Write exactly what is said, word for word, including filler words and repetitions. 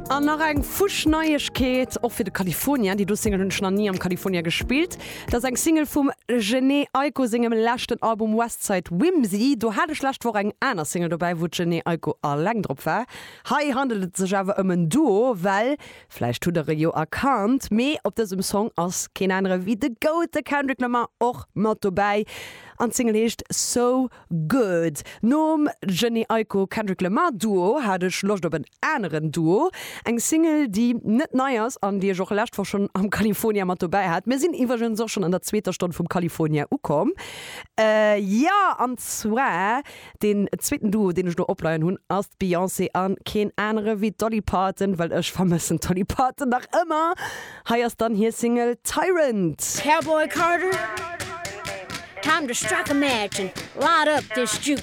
An nach eng Fuschneiegkeet och fir de California, déi do Single hunn ech nach ni am California gespillt. Dat ass eng Single vum Jhené Aiko sengem leschten Album Westside Whimsy. Do hat ech lescht Woch eng aner Single dobäi, wou d'Jhené Aiko alleng drop war. Hei handelt et sech awer ëm en Duo, well, vläicht hutt der e jo erkannt, mee op dësem Song ass keen anere wéi de Goat, de Kendrick Lamar, och mat dobäi. An d'Single heescht So Good. Nom Jhené Aiko Kendrick Lamar Duo hat ech Loscht op en aneren Duo. Eng Single, déi net nei ass an déi ech och lescht Woch schonn am California mat dobäi hat. Mir sinn iwwregens och schonn an der zweeter Stonn vum California ukomm. Jo, an zwar deen zweeten Duo, deen ech do opleien hunn, ass d'Beyoncé an keen anere wéi d'Dolly Parton, well ech vermëssen d'Dolly Parton nach ëmmer. Hei ass dann hir Single Tyrant. Cowboy Carter, time to strike a match and light up this